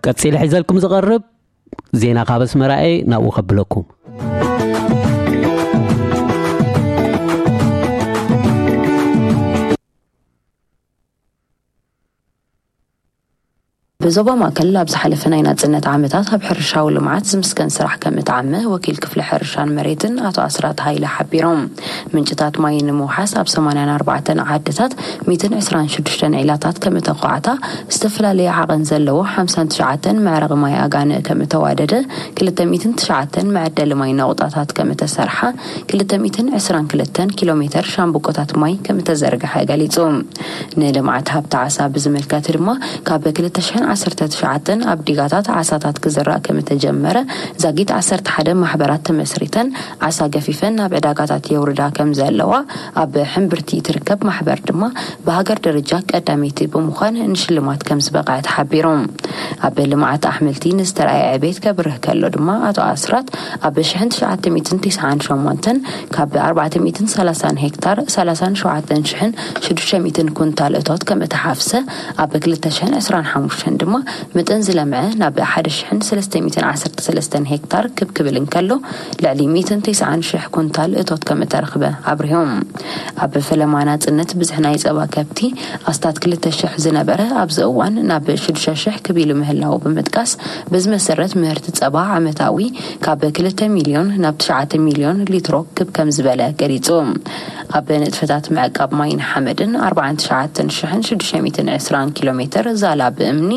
ቀጺለ ሒዘልኩም ዝቐርብ ዜና ካብ ኣስመራ እየ፣ ናብኡ ከብለኩም። ብዞባ ማእከል ኣብ ዝሓለፈ ናይ ናጽነት ዓመታት ኣብ ሕርሻዊ ልምዓት ዝምስገን ስራሕ ከም እተዓመ ወኪል ክፍሊ ሕርሻን መሬትን ኣቶ ኣስራት ሃይለ ሓቢሮም። ምንጭታት ማይ ንምውሓስ ኣብ ሰማንያን ኣርባዕተን ዓድታት ሚእትን ዕስራን ሽዱሽተን ዒላታት ከም እተኳዕታ፣ ዝተፈላለየ ዓቐን ዘለዎ ሓምሳን ትሽዓተን መዕረቒ ማይ ኣጋንእ ከም እተዋደደ፣ ክልተ ሚእትን ትሽዓተን መዐደሊ ማይ ነቑጣታት ከም እተሰርሓ፣ ክልተ ሚእትን ዕስራን ክልተን ኪሎ ሜተር ሻምብቆታት ማይ ከም እተዘርግሐ ገሊጹ። ንልምዓት ሃብቲ ዓሳ ብዝምልከት ድማ፣ ካብ ክልተ ሽሕን ዓሰርተ ትሽዓተን ኣብ ዲጋታት ዓሳታት ክዝራእ ከም እተጀመረ፣ ዛጊት ዓሰርተ ሓደ ማሕበራት ተመስሪተን ዓሳ ገፊፈን ናብ ዕዳጋታት የውርዳ ከም ዘለዋ፣ ኣብ ሕምብርቲ ትርከብ ማሕበር ድማ ብሃገር ደረጃ ቀዳመይቲ ብምዃን ንሽልማት ከም ዝበቕዐ ተሓቢሩ። ኣብ ልምዓት ኣሕምልቲ ንዝተረኣየ ዕቤት ከብርህ ከሎ ድማ፣ ኣቶ ኣስራት ኣብ ሽሕን ትሽዓተ ሚእትን ተስዓን ሸሞንተን ካብ ኣርባዕተ ሚእትን ሰላሳን ሄክታር ሰላሳን ሸውዓተን ሽሕን ሽዱሽተ ሚእትን ኩንታል እቶት ከም እተሓፍሰ፣ ኣብ ክልተ ሽሕን ዕስራን ሓሙሽተን ድማ መጠን ዝለምዐ ናብ ሓደ ሽሕን ሰለስተ ሚእትን ዓሰርተ ሰለስተን ሄክታር ክብ ክብል እንከሎ፣ ልዕሊ ሚእትን ተስዓን ሽሕ ኩንታል እቶት ከም እተረኽበ ኣብሪሆም። ኣብ ፈለማ ናጽነት ብዝሒ ናይ ጸባ ከብቲ ኣስታት ክልተ ሽሕ ዝነበረ፣ ኣብዚ እዋን ናብ ሽዱሽተ ሽሕ ክብ ኢሉ ምህላው ብምጥቃስ፣ በዚ መሰረት ምህርቲ ጸባ ዓመታዊ ካብ ክልተ ሚልዮን ናብ ትሽዓተ ሚልዮን ሊትሮ ክብ ከም ዝበለ ገሊጹ። ኣብ ንጥፈታት ምዕቃብ ማይን ሓመድን ኣርባዓን ትሽዓተን ሽሕን ሽዱሽተ ሚእትን ዕስራን ኪሎ ሜተር ዛላ ብእምኒ፣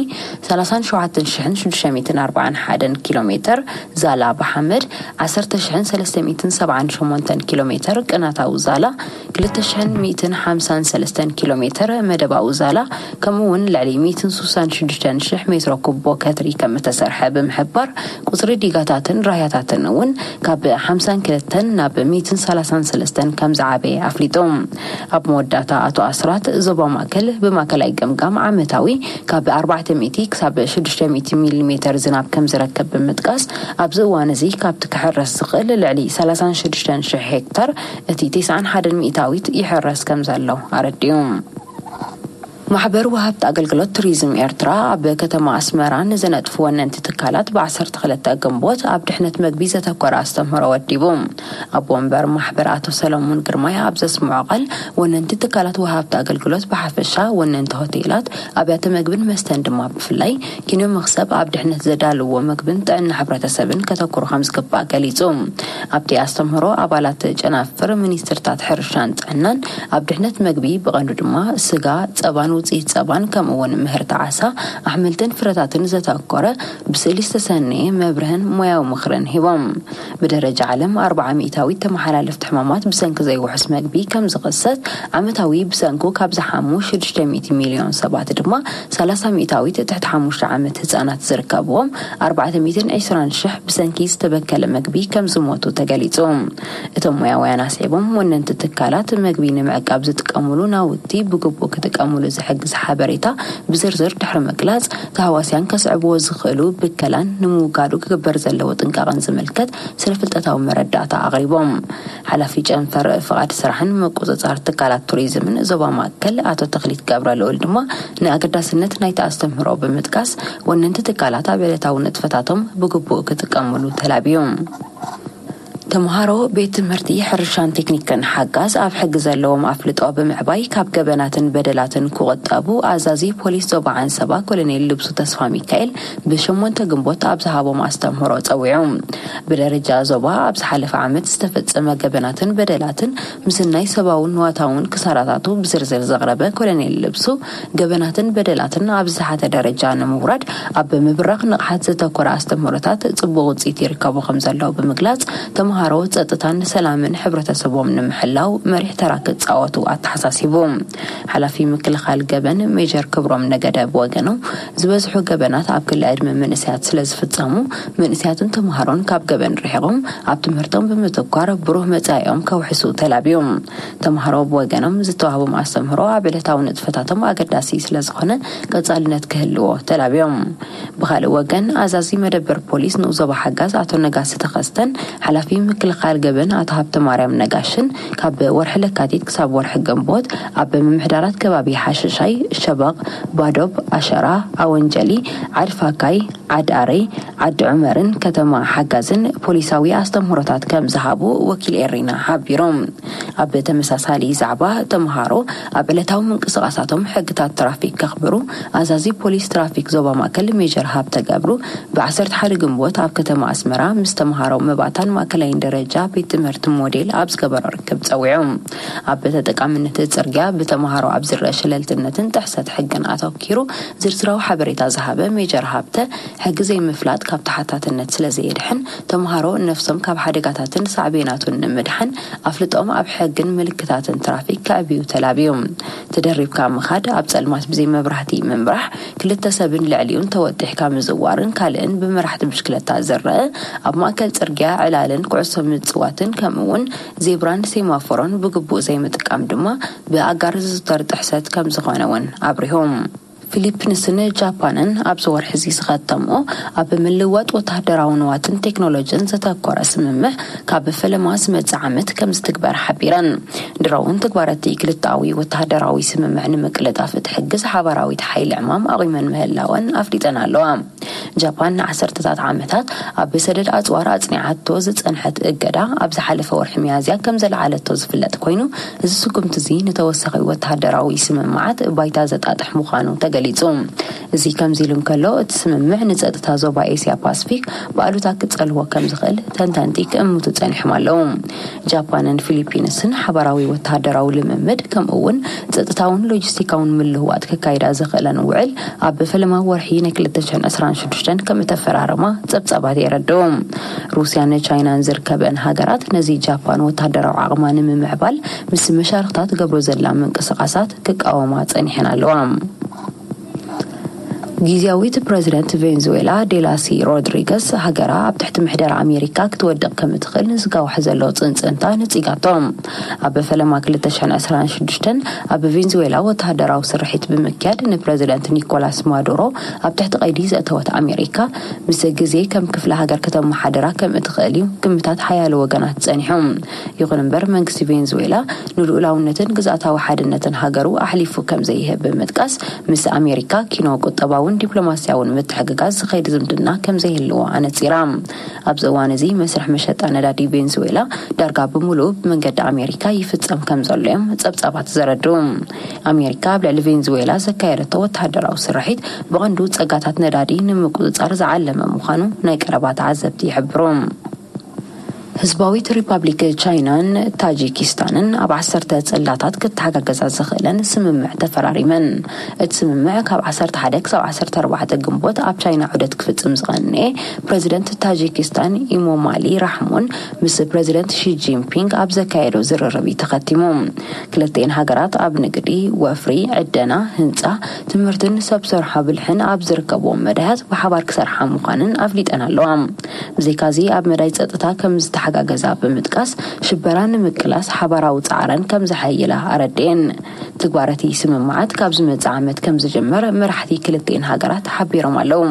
ሰላሳን ሸውዓተን ሽሕን ሽዱሽተ ሚእትን ኣርባዓን ሓደን ኪሎ ሜተር ዛላ ብሓመድ፣ ዓሰርተ ሽሕን ሰለስተ ሚእትን ሰብዓን ሸሞንተን ኪሎ ሜተር ቅናታዊ ዛላ፣ ክልተ ሽሕን ሚእትን ሓምሳን ሰለስተን ኪሎ ሜተር መደባዊ ዛላ፣ ከምኡ እውን ልዕሊ ሚእትን ስሳን ሽዱሽተን ሽሕ ሜትሮ ኩቦ ከትሪ ከም እተሰርሐ ብምሕባር፣ ቁጽሪ ዲጋታትን ራህያታትን እውን ካብ ሓምሳን ክልተን ናብ ሚእትን ሰላሳን ሰለስተን ከም ዝዓበየ ኣፍሊጡ። ኣብ መወዳእታ ኣቶ ኣስራት፣ ዞባ ማእከል ብማእከላይ ገምጋም ዓመታዊ ካብ ኣርባዕተ ሚእቲ ክሳብ ሽዱሽተ ሚእቲ ሚሊ ሜተር ዝናብ ከም ዝረክብ ብምጥቃስ፣ ኣብዚ እዋን እዚ ካብቲ ክሕረስ ዝኽእል ልዕሊ ሰላሳን ሽዱሽተን ሽሕ ሄክታር፣ እቲ ተስዓን ሓደን ሚእታዊት ይሕረስ ከም ዘሎ ኣረዲኡ። ማሕበር ወሃብቲ ኣገልግሎት ቱሪዝም ኤርትራ ኣብ ከተማ ኣስመራ ንዝነጥፉ ወነንቲ ትካላት ብ ዓሰርተ ክልተ ግንቦት ኣብ ድሕነት መግቢ ዘተኮረ ኣስተምህሮ ወዲቡ። ኣቦ ወንበር ማሕበር ኣቶ ሰለሙን ግርማይ ኣብ ዘስምዖ ቃል፣ ወነንቲ ትካላት ወሃብቲ ኣገልግሎት ብሓፈሻ፣ ወነንቲ ሆቴላት፣ ኣብያተ መግብን መስተን ድማ ብፍላይ፣ ኪኖ መኽሰብ ኣብ ድሕነት ዘዳልዎ መግብን ጥዕና ሕብረተሰብን ከተኩሩ ከም ዝግባእ ገሊጹ። ኣብቲ ኣስተምህሮ፣ ኣባላት ጨናፍር ሚኒስትርታት ሕርሻን ጥዕናን ኣብ ድሕነት መግቢ፣ ብቐንዱ ድማ ስጋ፣ ጸባን ውጽኢት ጸባን፣ ከምኡ እውን ምህርቲ ዓሳ፣ ኣሕምልትን ፍረታትን ዘተኮረ ብስእሊ ዝተሰነየ መብርህን ሞያዊ ምኽርን ሂቦም። ብደረጃ ዓለም ኣርብዓ ሚእታዊት ተመሓላለፍቲ ሕማማት ብሰንኪ ዘይውሑስ መግቢ ከም ዝኽሰት፣ ዓመታዊ ብሰንኩ ካብ ዝሓሙ ሽዱሽተ ሚእቲ ሚልዮን ሰባት ድማ ሰላሳ ሚእታዊት ትሕቲ ሓሙሽተ ዓመት ህጻናት ዝርከብዎም ኣርባዕተ ሚእትን ዕስራን ሽሕ ብሰንኪ ዝተበከለ መግቢ ከም ዝሞቱ ተገሊጹ። እቶም ሞያውያን ኣስዒቦም፣ ወነንቲ ትካላት መግቢ ንምዕቃብ ዝጥቀሙሉ ናውቲ ብግቡእ ክጥቀሙሉ ዝሕግዝ ሓበሬታ ብዝርዝር ድሕሪ ምግላጽ፣ ተሃዋስያን ከስዕብዎ ዝኽእሉ ብከላን ንምውጋዱ ክግበር ዘለዎ ጥንቃቐን ዝምልከት ስነ ፍልጠታዊ መረዳእታ ኣቕሪቦም። ሓላፊ ጨንፈር ፍቓድ ስራሕን ምቁጽጻር ትካላት ቱሪዝምን ዞባ ማእከል ኣቶ ተኽሊት ገብረ ልኡል ድማ ንኣገዳስነት ናይቲ ኣስተምህሮ ብምጥቃስ፣ ወነንቲ ትካላት ኣብ ዕለታዊ ንጥፈታቶም ብግቡእ ክጥቀሙሉ ተላብዩ። ተምሃሮ ቤት ትምህርቲ ሕርሻን ቴክኒክን ሓጋዝ ኣብ ሕጊ ዘለዎም ኣፍልጦ ብምዕባይ ካብ ገበናትን በደላትን ክቑጠቡ ኣዛዚ ፖሊስ ዞባ ዓንሰባ ኮሎኔል ልብሱ ተስፋ ሚካኤል ብሸሞንተ ግንቦት ኣብ ዝሃቦም ኣስተምህሮ ጸዊዑ። ብደረጃ ዞባ ኣብ ዝሓለፈ ዓመት ዝተፈጸመ ገበናትን በደላትን ምስናይ ሰብኣውን ንዋታውን ክሳራታቱ ብዝርዝር ዘቕረበ ኮሎኔል ልብሱ፣ ገበናትን በደላትን ኣብ ዝተሓተ ደረጃ ንምውራድ ኣብ ምብራኽ ንቕሓት ዘተኮረ ኣስተምህሮታት ጽቡቕ ውጽኢት ይርከቡ ከም ዘለዉ ብምግላጽ፣ ተምሃሮ ጸጥታን ሰላምን ሕብረተሰቦም ንምሕላው መሪሕ ተራ ክጻወቱ ኣተሓሳሲቡ። ሓላፊ ምክልኻል ገበን ሜጀር ክብሮም ነገደ ብወገኖም፣ ዝበዝሑ ገበናት ኣብ ክሊ ዕድመ መንእሰያት ስለ ዝፍጸሙ፣ መንእሰያትን ተምሃሮን ካብ ገበን ርሒቖም ኣብ ትምህርቶም ብምትኳር ብሩህ መጻኢኦም ከውሕሱ ተላብዮም። ተምሃሮ ብወገኖም ዝተዋህቦም ኣስተምህሮ ኣብ ዕለታዊ ንጥፈታቶም ኣገዳሲ ስለ ዝኾነ ቀጻልነት ክህልዎ ተላብዮም። ብኻልእ ወገን ኣዛዚ መደበር ፖሊስ ንኡዞባ ሓጋዝ ኣቶ ነጋሲ ተኸስተን ሓላፊ ምክልኻል ገበን ኣቶ ሃብተ ማርያም ነጋሽን ካብ ወርሒ ለካቲት ክሳብ ወርሒ ግንቦት ኣብ ምምሕዳራት ከባቢ ሓሸሻይ፣ ሸበቕ፣ ባዶብ፣ ኣሸራ፣ ኣወንጀሊ፣ ዓድፋካይ፣ ዓድ ኣረይ፣ ዓዲ ዑመርን ከተማ ሓጋዝን ፖሊሳዊ ኣስተምህሮታት ከም ዝሃቡ ወኪል ኤሪና ሓቢሮም። ኣብ ተመሳሳሊ ዛዕባ፣ ተምሃሮ ኣብ ዕለታዊ ምንቅስቓሳቶም ሕግታት ትራፊክ ከኽብሩ ኣዛዚ ፖሊስ ትራፊክ ዞባ ማእከል ሜጀር ሃብተ ገብሩ ብ ዓሰርተ ሓደ ግንቦት ኣብ ከተማ ኣስመራ ምስ ተምሃሮ መባታን ማእከላይን ደረጃ ቤት ትምህርቲ ሞዴል ኣብ ዝገበሮ ርክብ ጸዊዑ። ኣብ ተጠቃምነት ጽርግያ ብተምሃሮ ኣብ ዝረአ ሸለልትነትን ጥሕሰት ሕግን ኣተኪሩ ዝርዝራዊ ሓበሬታ ዝሃበ ሜጀር ሃብተ፣ ሕጊ ዘይምፍላጥ ካብ ተሓታትነት ስለ ዘየድሕን፣ ተምሃሮ ነፍሶም ካብ ሓደጋታትን ሳዕቤናቱን ንምድሓን ኣፍልጦም ኣብ ሕግን ምልክታትን ትራፊክ ከዕብዩ ተላብዮም። ተደሪብካ ምኻድ፣ ኣብ ጸልማት ብዘይ መብራህቲ ምምራሕ፣ ክልተ ሰብን ልዕሊኡን ተወጢሕካ ምዝዋርን ካልእን ብመራሕቲ ብሽክለታ ዝረአ፣ ኣብ ማእከል ጽርግያ ዕላልን ኩዕሶ ምጽዋትን ከምኡ'ውን ዜብራን ሴማፎሮን ብግቡእ ዘይምጥቃም ድማ ብኣጋር ዝዝውተር ጥሕሰት ከም ዝኾነ እውን ኣብሪሆም። ፊሊፒንስን ጃፓንን ኣብዚ ወርሒ እዚ ዝኸተምኦ ኣብ ምልዋጥ ወተሃደራዊ ንዋትን ቴክኖሎጂን ዘተኮረ ስምምዕ ካብ ፈለማ ዝመጽእ ዓመት ከም ዝትግበር ሓቢረን። ድሮ እውን ትግባረቲ ክልተኣዊ ወተሃደራዊ ስምምዕ ንምቅልጣፍ እትሕግዝ ሓባራዊት ሓይሊ ዕማም ኣቑመን ምህላወን ኣፍሊጠን ኣለዋ። ጃፓን ንዓሰርተታት ዓመታት ኣብ ሰደድ ኣጽዋር ኣጽኒዓቶ ዝጸንሐት እገዳ ኣብ ዝሓለፈ ወርሒ ሚያዝያ ከም ዘልዓለቶ ዝፍለጥ ኮይኑ፣ እዚ ስጉምቲ እዚ ንተወሳኺ ወተሃደራዊ ስምምዓት ባይታ ዘጣጥሕ ምዃኑ ተገሊጹ። እዚ ከምዚ ኢሉ እንከሎ፣ እቲ ስምምዕ ንጸጥታ ዞባ ኤስያ ፓስፊክ ብኣሉታ ክጸልዎ ከም ዝኽእል ተንተንቲ ክእምቱ ጸኒሖም ኣለዉ። ጃፓንን ፊሊፒንስን ሓባራዊ ወተሃደራዊ ልምምድ፣ ከምኡ እውን ጸጥታውን ሎጂስቲካውን ምልውዋጥ ከካይዳ ዝኽእለን ውዕል ኣብ ፈለማ ወርሒ ናይ ክልተ ሽሕን ዕስራን ሽዱሽተን ከም እተፈራረማ ጸብጻባት የረድኡ። ሩስያን ቻይናን ዝርከበን ሃገራት ነዚ ጃፓን ወተሃደራዊ ዓቕማ ንምምዕባል ምስ መሻርኽታ ትገብሮ ዘላ ምንቅስቓሳት ክቃወማ ጸኒሐን ኣለዋ። ግዝያዊት ፕረዚደንት ቬንዙዌላ ዴላሲ ሮድሪገስ፣ ሃገራ ኣብ ትሕቲ ምሕደራ ኣሜሪካ ክትወድቕ ከም እትኽእል ንዝጋውሕ ዘሎ ጽንጽንታ ነጺጋቶ። ኣብ ፈለማ ክልተ ሽሕን ዕስራን ሽዱሽተን ኣብ ቬንዙዌላ ወተሃደራዊ ስርሒት ብምክያድ ንፕረዚደንት ኒኮላስ ማዱሮ ኣብ ትሕቲ ቀይዲ ዘእተወት ኣሜሪካ፣ ምስ ግዜ ከም ክፍለ ሃገር ከተመሓድራ ከም እትኽእል እዩ ግምታት ሓያሎ ወገናት ጸኒሑ። ይኹን እምበር፣ መንግስቲ ቬንዙዌላ ንልኡላውነትን ግዝኣታዊ ሓድነትን ሃገሩ ኣሕሊፉ ከም ዘይህብ ብምጥቃስ፣ ምስ ኣሜሪካ ኪኖ ቁጠባውን ዲፕሎማስያውን ምትሕግጋዝ ዝኸይድ ዝምድና ከም ዘይህልዎ ኣነጺራ። ኣብዚ እዋን እዚ፣ መስርሕ መሸጣ ነዳዲ ቬንዙዌላ ዳርጋ ብምሉኡ ብመንገዲ ኣሜሪካ ይፍጸም ከም ዘሎ እዮም ጸብጻባት ዘረድኡ። ኣሜሪካ ኣብ ልዕሊ ቬንዙዌላ ዘካየደቶ ወተሃደራዊ ስርሒት ብቐንዱ ጸጋታት ነዳዲ ንምቁጽጻር ዝዓለመ ምዃኑ ናይ ቀረባ ተዓዘብቲ ይሕብሩ። ህዝባዊት ሪፓብሊክ ቻይናን ታጂኪስታንን ኣብ ዓሰርተ ጽላታት ክተሓጋገዛ ዝኽእለን ስምምዕ ተፈራሪመን። እቲ ስምምዕ ካብ ዓሰርተ ሓደ ክሳብ ዓሰርተ ኣርባዕተ ግንቦት ኣብ ቻይና ዑደት ክፍጽም ዝቐንኤ ፕረዚደንት ታጂኪስታን ኢሞማሊ ራሕሞን ምስ ፕረዚደንት ሺ ጂንፒንግ ኣብ ዘካየዶ ዝርርብ እዩ ተኸቲሙ። ክልቲኤን ሃገራት ኣብ ንግዲ፣ ወፍሪ፣ ዕደና፣ ህንጻ፣ ትምህርትን ሰብ ሰርሖ ብልሕን ኣብ ዝርከብዎም መዳያት ብሓባር ክሰርሓ ምዃንን ኣፍሊጠን ኣለዋ። ብዘይካዚ ኣብ መዳይ ጸጥታ ከም ዝተሓጋገዛ ብምጥቃስ ሽበራ ንምቅላስ ሓባራዊ ጻዕረን ከም ዘሐይላ ኣረድኤን። ትግባረቲ ስምምዓት ካብ ዝመጽእ ዓመት ከም ዝጀመር መራሕቲ ክልቲኤን ሃገራት ሓቢሮም ኣለዉ።